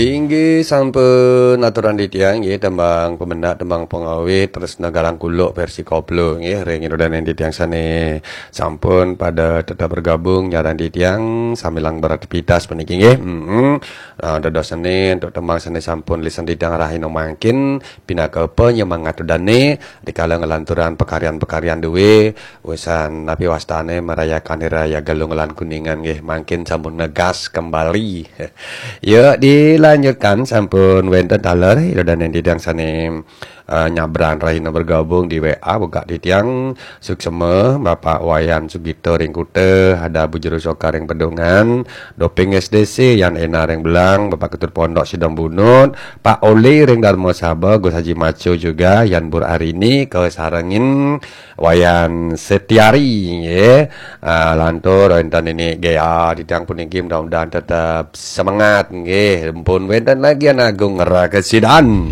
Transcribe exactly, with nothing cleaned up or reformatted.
Inggih sampun aturan titiang nggih, tembang pemendak, tembang pengawit, terus negalang kuluk versi koplo nggih, ring ida dané titiang sané sampun pada tetap bergabung nyarengin titiang sambilang beraktivitas puniki nggih. Heeh. Nah, dados sané untuk tembang sané sampun lisan titiang rahina mangkin pinaka penyemangat ida dané dikala ngelanturang pekaryan-pekaryan duwé, usan napi wastané merayakan Hari Raya Galungan lan Kuningan nggih, mangkin sampun ngegas kembali. Ya, dilanjutkan sampun wénten taler ida dané titiang sané eh, nyabran rahina bergabung di W A, bugak titiang suksema Bapak Wayan Sugito ring Kuta, ada Bu Juru Soka ring Pedungan, Doping S D C, Yan Ena ring Belang, Bapak Ketut Pondok Sidang Bunut, Pak Oli ring Darma Saba, Gus Haji Maco juga, Yan Bur Arini, kasarengin Wayan Setiari nggih. Ah, lantur wénten nini Gea, titiang puniki mudah-mudahan tetap semangat nggih. Pun wénten lagi Anak Agung Rakesidan.